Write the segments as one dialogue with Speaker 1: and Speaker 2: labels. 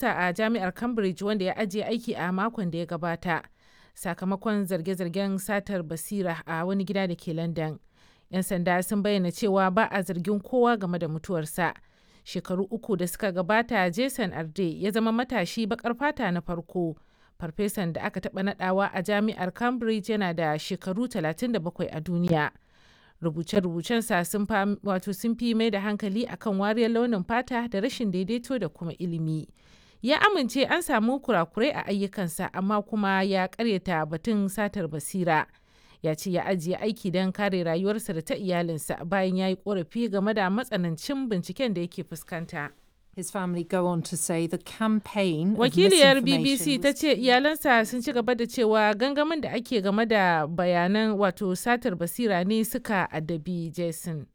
Speaker 1: A jami'ar Cambridge wanda ya ajiye aiki a makon da ya gabata sakamakon zarge-zargen satar basira a wani gida da ke London. 'Yan sanda sun bayyana cewa ba a zargin kowa game da mutuwarsa. Shekaru 3 da suka gabata, Jason Arde ya zama matashi baƙar fata na farko farfesan da aka taɓa nadawa a jami'ar Cambridge, yana da shekaru 37 a duniya. Rubuce-rubucensa sun fi mai da hankali akan wariyar launin fata da rashin daidaito da kuma ilimi. Ya amince an samu kurakurai a ayyukansa, amma kuma ya karyata batun satar basira. Ya ce ya ajiye aiki don kare rayuwarsa da ta iyalinsa bayan ya yi korafi game da matsanancin binciken da yake fuskanta.
Speaker 2: His family go on to say the campaign of
Speaker 1: Wakiliyar
Speaker 2: misinformation
Speaker 1: BBC ta
Speaker 2: was
Speaker 1: ce iyalansa sun ci gaba da cewa gangamin da ake game da bayanan wato satar basira ne suka addabi Jason.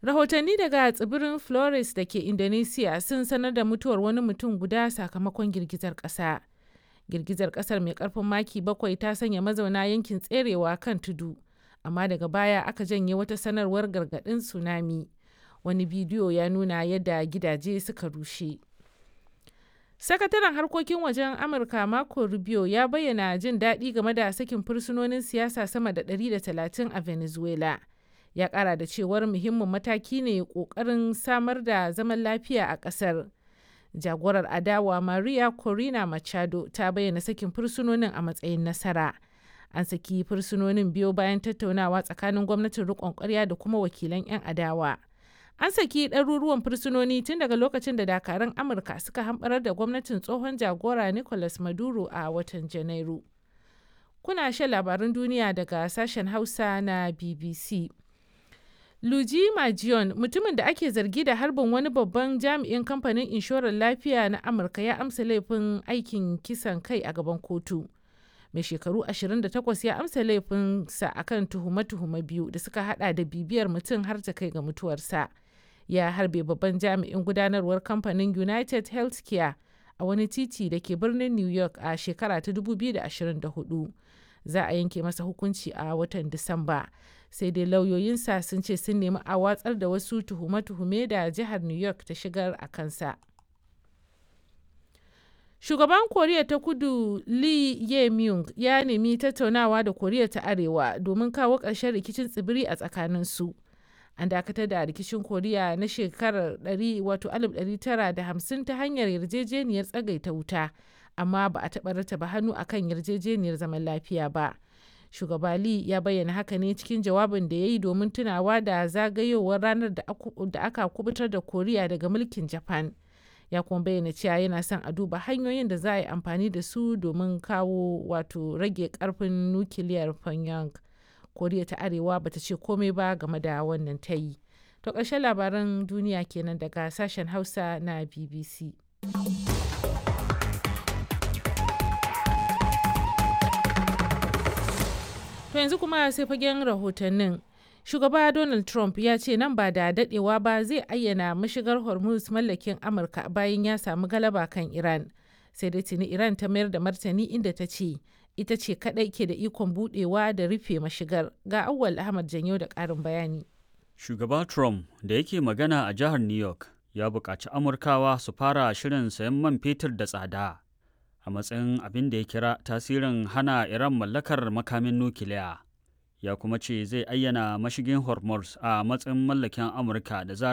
Speaker 1: Rahotanni daga tsibirin Flores da ke Indonesia sun sanar da mutuwar wani mutum guda sakamakon girgizar ƙasa. Girgizar ƙasar mai ƙarfin maki 7 ta sanya mazauna yankin tserewa kan tudu, amma daga baya aka janye wata sanarwar gargaɗin tsunami. Wani bidiyo ya nuna yadda gidaje suka rushe. Sakataren harkokin wajen Amurka Marco Rubio ya bayyana jin daɗi game da sakin fursunonin siyasa sama da 130 a Venezuela. Ya ƙara da cewar muhimmin mataki ne ƙoƙarin samar da zaman lafiya a ƙasar. Jagorar adawa Maria Corina Machado ta bayyana sakin fursunonin a matsayin nasara. An saki fursunonin biyo bayan tattaunawa tsakanin gwamnatin riƙon ƙwarya da kuma wakilan 'yan adawa. An saki ɗaruruwan fursunoni tun daga lokacin da dakarun Amurka suka hamɓarar da gwamnatin tsohon jagora Nicolas Maduro a watan Janairu. Kuna shan labarun duniya daga sashen Hausa na BBC. Luigi Majion, mutumin da ake zargi da harbin wani babban jami'in kamfanin inshorar lafiya na Amurka, ya amsa laifin aikin kisan kai a gaban kotu. Mai shekaru 28 ya amsa laifinsa akan tuhume-tuhume biyu da suka hada da bibiyar mutum har ta kai ga mutuwarsa. Ya harbe babban jami'in gudanarwar kamfanin United Healthcare a wani titi da ke birnin New York a shekara ta 2024. Za a yanke masa hukunci a watan Disamba. Sai dai lauyoyinsa sun ce sun nemi a watsar da wasu tuhume-tuhume da jihar New York ta shigar a kansa. Shugaban Koriya ta Kudu Lee Jae-myung ya nemi tattaunawa da Koriya ta Arewa domin kawo ƙarshen rikicin tsibiri a tsakaninsu. An dakatar da rikicin Koriya na shekarar 1950 ta hanyar yarjejeniyar tsagaita wuta, amma ba a taɓa rattaba hannu akan yarjejeniyar zaman lafiya ba. Shugaba Lee ya bayyana haka ne cikin jawabin da ya yi domin tunawa da zagayowar ranar da aka kubutar da Koriya daga mulkin Japan. Ya kuma bayyana cewa yana son a duba hanyoyin da za a yi amfani da su domin kawo wato rage karfin nukiliyar Pyongyang. Koriya ta Arewa bata ce komai ba game da wannan tayi. To ƙarshen labaran duniya kenan daga sashen Hausa na BBC. To yanzu kuma sai fagen rahotannin. Shugaba Donald Trump ya ce nan ba da dadewa ba zai ayyana mashigar Hormuz mallakin Amurka bayan ya samu galaba kan Iran. Sai dai tuni Iran ta mayar da martani, inda ta ce ita ce kadai ke da ikon budewa da rufe mashigar. Ga Auwal Ahmad Janyo da karin bayani.
Speaker 3: Shugaba Trump da yake magana a jihar New York ya buƙaci Amurkawa su fara shirin sayan man fetur da tsada a matsayin abin da ya kira tasirin hana Iran mallakar makamin nukiliya. Ya kuma ce zai ayyana mashigin Hormuz a matsayin mallakin Amurka da zarar